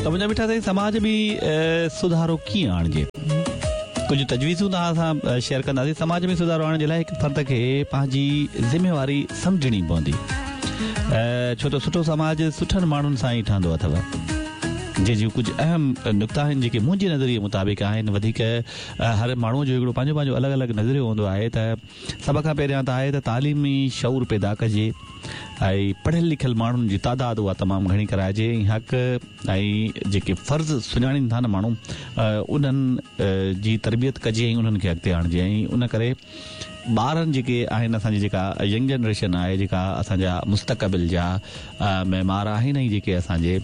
ته منهنجا مٺا سائين سماج ۾ سڌارو ڪيئن آڻجي؟ ڪجهه تجويزون توهان سان شيئر ڪنداسين. سماج ۾ سڌارو آڻڻ جي لاء هڪ فرد کي پنهنجي ذميواري سمجهڻي پوندي. ڇو ته سٺو سماج سٺن ماڻهن سان ئي ٺهندو اٿو. جنهن جون ڪجهه اهم نڪتا آهن جيڪي منهنجي نظريي مطابق آهن. وڌيڪ هر ماڻهوء جو هڪڙو پنهنجو پنهنجو الڳ الڳ نظريو هوندو آهي ته سڀ کان پهريان ته آهي ته تعليمي شعور پيدا ڪجي ۽ پڙهيل لکيل ماڻهن جي تعداد اها تمام گهڻي ڪرائجي ۽ حق ۽ جيڪي فرض سڃاڻين ٿا نه ماڻهو انهن جي تربيت ڪجي ۽ انهن کي اڳتي آڻجي ۽ ان ڪري ٻارن جيڪي آهن اسان جي جيڪا ينگ جنريشن آهي جيڪا اسان جا مستقبل جا معمار آهن ۽ جيڪي اسان جي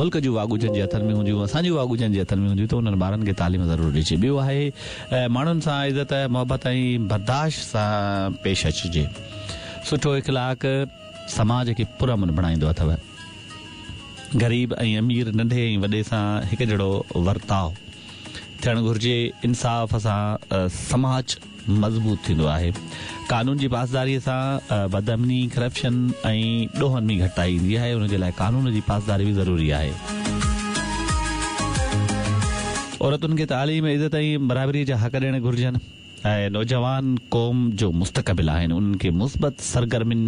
ملڪ جون واڳون جن جي هٿن ۾ هونديون، اسان جون واڳون جن جي هٿن ۾ هونديون ته انهن ٻارن کي تعليم ضرور ڏجي. ٻيو آهي ماڻهن سان عزت، محبت ۽ برداشت سان پيش اچجي. سٺو اخلاق سماج کي پرامن بڻائيندو اٿو. غريب ۽ امير، ننڍي ۽ وڏي سان هڪ جهڙو ورتاء ٿيڻ گهرجي. انصاف سان سماج. مضبوط ٿيندو آهي. قانون جي پاسداري سان بدامني، ڪرپشن ۽ ڏوهن ۾ گهٽتائي ايندي آهي، ان جي لاء قانون جي پاسداري به ضروري آهي. عورتن کي تعليم، عزت ۽ برابري جا حق ڏيڻ گهرجن ۽ نوجوان قوم جو مستقبل آهن، انهن کي مثبت سرگرمين،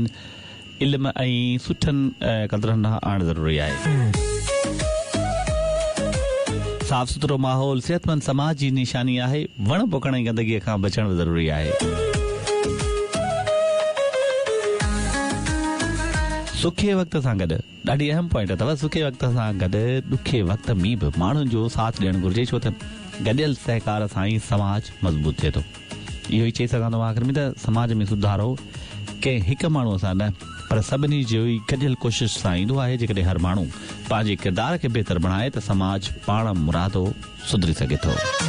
علم ۽ سٺن قدرن ڏانهن آڻڻ ضروري آهي. صاف سٿرو ماحول صحتمند سماج جي نشاني آهي. وڻ پوکڻ ۽ گندگيء کان بچڻ به ضروري آهي. سکي وقت سان گڏ، ڏاڍي اهم پوائنٽ اٿو، سکي وقت سان گڏ ڏکي وقت ۾ به ماڻهن جو ساٿ ڏيڻ گهرجي ڇو ته گڏيل سهڪار سان ئي سماج مضبوط ٿئي ٿو. اهو ئي چئي سگهان ٿو مان آخر ۾ ته سماج ۾ سڌارو ڪنهن هڪ ماڻهوء سان نه پر سڀني جي ئي گڏيل ڪوشش سان ايندو آهي جيڪڏهن هر ماڻهو پنهنجي ڪردار کي بهتر بڻائي ته سماج پاڻ مرادو سڌري سگهي ٿو.